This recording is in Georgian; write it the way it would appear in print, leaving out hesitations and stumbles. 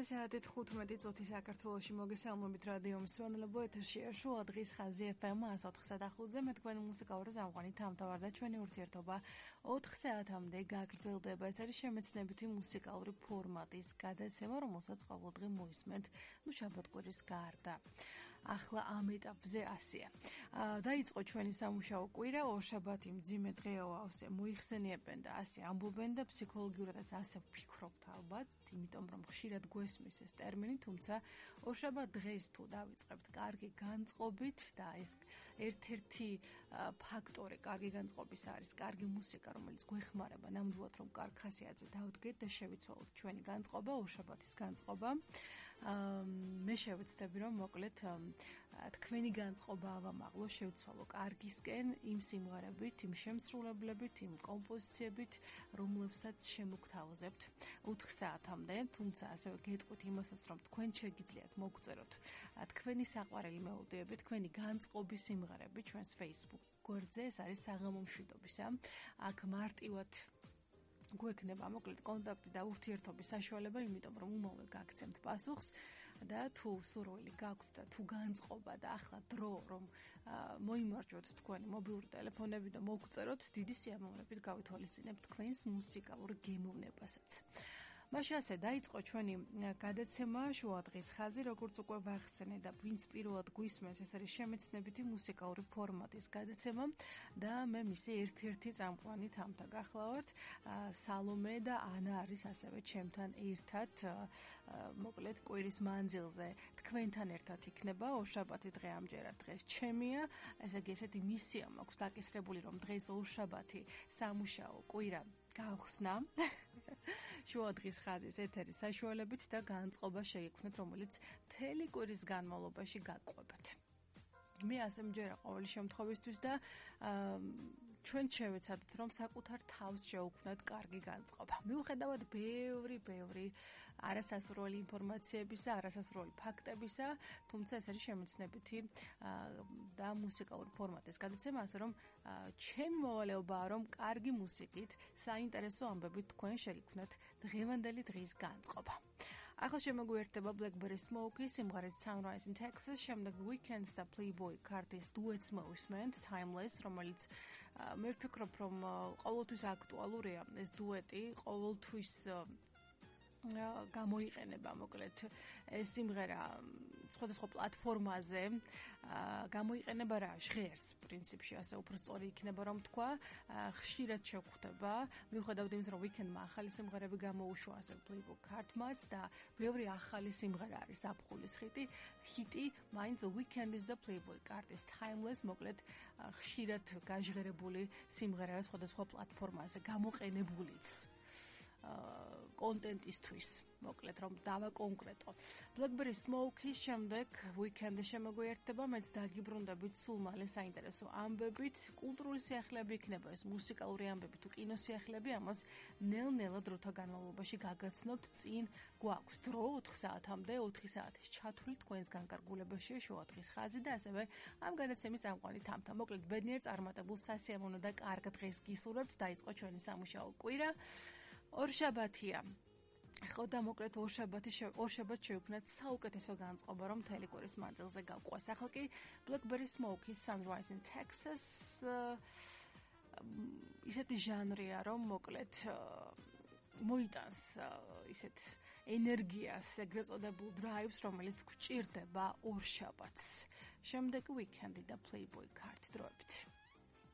საათი 15 წუთი საქართველოში მოგესალმებით რადიო მსმენელებო, ეთერშია შუა დღის ხაზი FM 104.5-ზე. მე თქვენი მუსიკალური წამყვანი თამთავარ და ჩვენი ურთიერთობა 4 საათამდე გაგრძელდება. ეს არის შემეცნებითი მუსიკალური ფორმატის გადაცემა, რომელსაც ყოველდღე მოისმენთ შაბათ-კვირის გარდა. ახლა ამ ეტაპზე ასეა. დაიწყო ჩვენი სამუშაო კვირა, ორშაბათი მძიმე დღეა, ასე მოიხსენიებენ და ასე ამბობენ და ფსიქოლოგიურადაც ასე ვფიქრობთ ალბათ, იმიტომ რომ ხშირად გვესმის ეს ტერმინი, თუმცა ორშაბათ დღეს თუ დავიწყებთ კარგი განწყობით და ეს ერთ-ერთი ფაქტორი კარგი განწყობის არის კარგი მუსიკა, რომელიც გვეხმარება ნამდვილად რომ კარგ ხასიათზე დავდგეთ და შევიცვალოთ ჩვენი განწყობა, ორშაბათის განწყობა. მე შევეცდები რომ მოკლედ თქვენი განწყობა ავამაღლო, შევცვალო კარგისკენ იმ სიმღერებით, იმ შემსრულებლებით, იმ კომპოზიციებით, რომლებსაც შემოგთავაზებთ 4 საათამდე, თუმცა ასევე გეტყვით იმასაც, რომ თქვენ შეგიძლიათ მოგწეროთ თქვენი საყვარელი მელოდიები, თქვენი განწყობის სიმღერები ჩვენს Facebook გვერდზე, ეს არის საღამო მშვიდობისა. აქ მარტივად გვექნება მოკლედ კონტაქტი და ურთიერთობის საშუალება, იმიტომ რომ უმალ გაგცემთ პასუხს და თუ სურვილი გაქვთ და თუ განწყობა და ახლა დრო რომ მოიმარჯვოთ თქვენი მობილური ტელეფონები და მოგწეროთ, დიდი სიამოვნებით გავითვალისწინებთ თქვენს მუსიკალურ გემოვნებასაც. მაშინ ასე დაიწყო ჩვენი გადაცემა შუა დღის ხაზი, როგორც უკვე ვახსენე და ვინც პირველად გვისმენს, ეს არის შემეცნებითი მუსიკალური ფორმატის გადაცემა და მე მისი ერთ-ერთი წამყვანი თამთა გახლავართ. სალომე და ანა არის ასევე ჩემთან ერთად, მოკლედ კვირის მანძილზე თქვენთან ერთად იქნება. ორშაბათი დღე ამჯერად დღეს ჩემია, ესე იგი ესეთი მისია მაქვს დაკისრებული, რომ დღეს ორშაბათი სამუშაო კვირა გავხსნა შუა დღის ხაზის ეთერის საშუალებით და განწყობა შეიქმნეთ, რომელიც მთელი კვირის განმავლობაში გაგყვებათ. მე ასე მჯერა ყოველი შემთხვევისთვის და ჩვენ შევეცადეთ, რომ საკუთარ თავს შევქმნათ კარგი განწყობა. მიუხედავად ბევრი არასასრული ინფორმაციებისა, არასასრული ფაქტებისა, თუმცა ეს არის შემეცნებითი და მუსიკალური ფორმატის გადაცემა, ასე რომ ჩემი მოვალეობაა, რომ კარგი მუსიკით, საინტერესო ამბებით თქვენ შეგიქმნათ დღევანდელი დღის განწყობა. ახლა შემოგვიერთდება Blackberry Smoke-ის სიმღერით Sunrise in Texas, შემდეგ Weekends და Playboy Carti-s duets მოვისმენთ Timeless, რომელიც მე ვფიქრობ, რომ ყოველთვის აქტუალურია ეს დუეტი, ყოველთვის გამოიყენება მოკლედ ეს სიმღერა სხვადასხვა პლატფორმაზე გამოიყენება რა ჟღერს პრინციპში ასე უფრო სწორი იქნება რომ თქვა ხშირად შევხვდება მიუხედავად იმისა რომ ვიკენდმა ახალი სიმღერები გამოუშვა ასე Playboy Carti-მაც და ბევრი ახალი სიმღერა არის აფხულის ჰიტი Mind the Weekend is the Playboy Carti-s Timeless მოკლედ ხშირად გაჟღერებული სიმღერაა სხვადასხვა პლატფორმაზე გამოყენებულიც კონტენტისთვის, მოკლედ რომ დავაკონკრეტო. Blackberry Smoke-ის შემდეგ Weekend შემოგვიერთდება, მეც დაგიბრუნდებით სულ მალე საინტერესო ამბებით, კულტურული სიახლეები იქნება ეს მუსიკალური ამბები თუ კინოსიახლეები, ამას ნელ-ნელა დროთა განმავლობაში გაგაცნობთ, წინ გვაქვს დრო 4 საათამდე, 4 საათის ჩათვლით თქვენს განკარგულებაში შუა დღის ხაზი და ასევე ამ გადაცემის წამყვანი თამთა. მოკლედ ბედნიერ წარმატებულ სასიამოვნო და კარგ დღეს გისურვებთ, დაიწყო ჩვენი სამუშაო კვირა. ორშაბათია. ხო და მოკლედ ორშაბათ შევქმნათ საუკეთესო განწყობა, რომ მთელი კვირის მანძილზე გავყვას. ახლა კი Blackberry Smoke-ის Sunrise in Texas ისეთი ჟანრია, რომ მოკლედ მოიტანს ისეთ ენერგიას, ეგრეთ წოდებულ drives, რომელიც გვჭირდება ორშაბათს. შემდეგ Weekend და Playboy Carti დროებით.